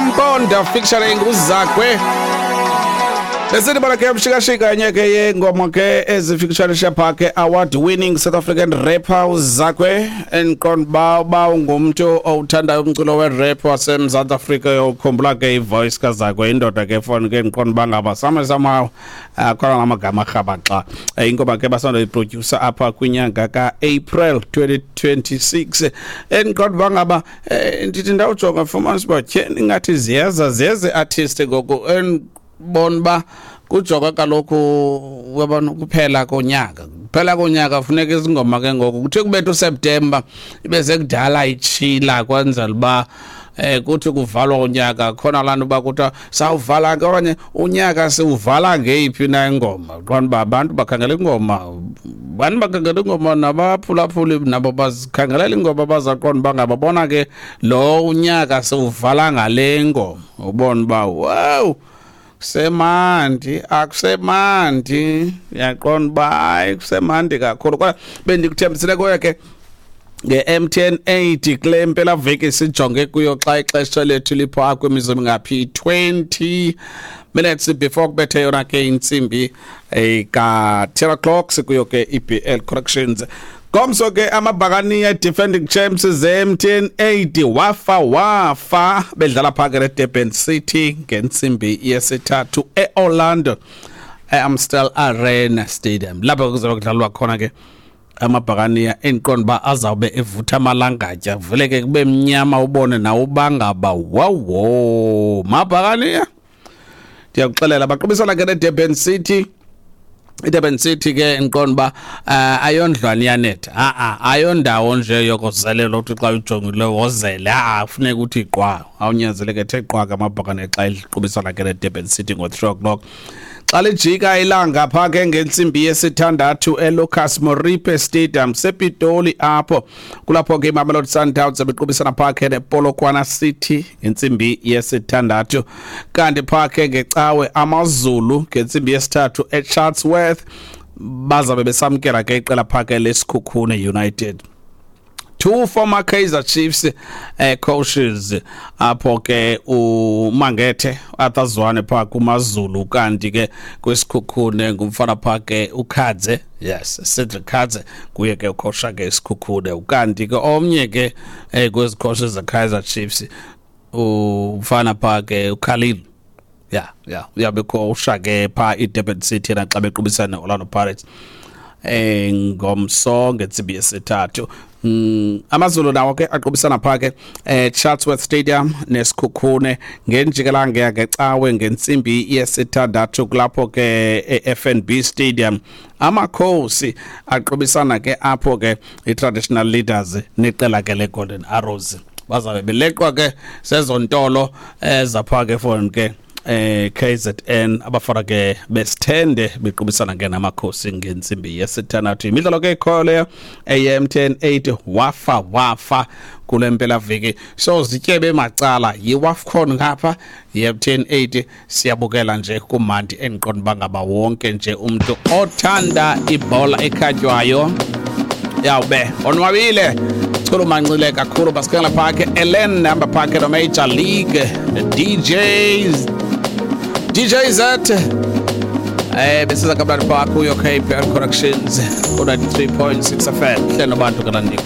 Mponda featuring uZakwe. Besithi bona ke mshikashika enye ke yengoma ke ezifikshanisha pha ke award winning South African rapper uZakwe, endiqonda uba uba ungumntu owuthandayo umculo we-rap waseMzantsi Afrika uyokhumbula ke ivoice kaZakwe, indoda ke foni ke endiqonda uba ngaba some somehow akhona namagama arhabaxa. Ingoma ke basandoyiprodyusa apha kwinyanga ka-April 2026, endiqonda uba ngaba ndithi ndawujonga fumanisa uba tyheni ingathi ziyeza ziyeza i-artist ngoku, endibona uba kujonga kaloku uyabona kuphela konyaka, kuphela konyaka funeka izingoma ke ngoku kuthiwe kubetha uSeptemba ibe sekudala itshila, kwenzela uba kuthi kuvalwa unyaka khona laa nto uba kuthiwa sawuvala ke okanye unyaka siwuvala ngeyiphi na ingoma. Qonda uba abantu bakhangela ingoma, bantu bakhangela ingoma, nabaphulaphuli nabo bazikhangelela ingoma, bazaqonda uba ngaba bona ke lo unyaka siwuvala ngale ngoma. Ubona uba wow, kusemandi, akusemandi, uyaqonda uba hayi kusemandi kakhulu. Kodwa bendikuthembisile kuyo ke nge-MTN 8 kule mpelaveki sijonge kuyo xa ixesha lethu lipha kwimizuzu ngaphi 20 minutes before kubethe yona ke intsimbi ka-10 o'clock, sikuyo ke i-BL Corrections. Ngomso ke amabhakaniya defending champs ze-MTN 8 wafa wafa bedlala phaka ne-Durban City ngentsimbi yesithathu e-Orlando, e-Amstel Arena Stadium, lapho kuzobe kudlalwa khona ke. Amabhakaniya endiqonda uba azawube evutha amalangatya, vele ke kube mnyama, ubone nawe ubangaba wawo mabhakaniya. Ndiyakuxelela, baqubisana ke ne-Durban City. iDurban City ke ndiqonda uba ayondlwane iyanetha, a-a ayondawo nje yokozelela uthi xa ujongile wozele, a kufuneka uthi qwa, awunyanzeleke ethe qwa ke amabhakane xa iqubisana ke ne-Durban City ngo-3 o'clock. Xa lijika ilanga phaa ke ngentsimbi yesithandathu eLucas Moripe Stadium sePitoli, apho kulapho ke iMamelodi Sundowns bequbisana phaa ke nePolokwane City ngentsimbi yesithandathu. Kanti phaa ke ngecawe AmaZulu ngentsimbi yesithathu eChatsworth bazabe besamkela ke iqela phaa ke leSikhukhune United. Two former Kaizer Chiefs coaches apho ke, uMangethe Arthur Zwane pha kumaZulu, kanti ke kwiSikhukhune ngumfana pha ke uKhadze, yes, Cedric Khadze, kuye ke ukhosha ke iSikhukhune. Ukanti ke omnye ke kwezi coaches ze Kaizer Chiefs, umfana pha ke uKhalil, ya uyabe khosha ke pha iDurban City naxa bequbisana neOrlando Pirates ngomso ngentsimbi yesithathu. AmaZulu nawo ke aqubisana pha ke Chatsworth Stadium neSikhukhune ngenjikelanga yangecawe ngentsimbi yesithandathu. Kulapho ke e-FNB Stadium Amakhosi aqubisana ke apho ke i-Traditional Leaders neqela ke le-Golden Arrows, bazabe beleqwa ke sezontolo ezapha ke for ke KZN, abafana ke besithende bequbisana ke namakhosi ngentsimbi yesithandathu. Imidlalo ke ikhoyo leyo eye-MTN 8 wafa wafa kule mpelaveki, so zityebe macala yiWAFCON ngapha, yi-MTN 8, siyabukela nje kumandi. Endiqonda uba ngaba wonke nje umntu othanda ibhola ekhatywayo yawube onwabile, chulumancile kakhulu. Basikhangela phaa ke Ellen hamba phaa ke no-Major League DJs, DJ Z. Besiza kamnandi phaa kuyo KPR Corrections ku-93.6 FM, hlelo bantu kalandiko.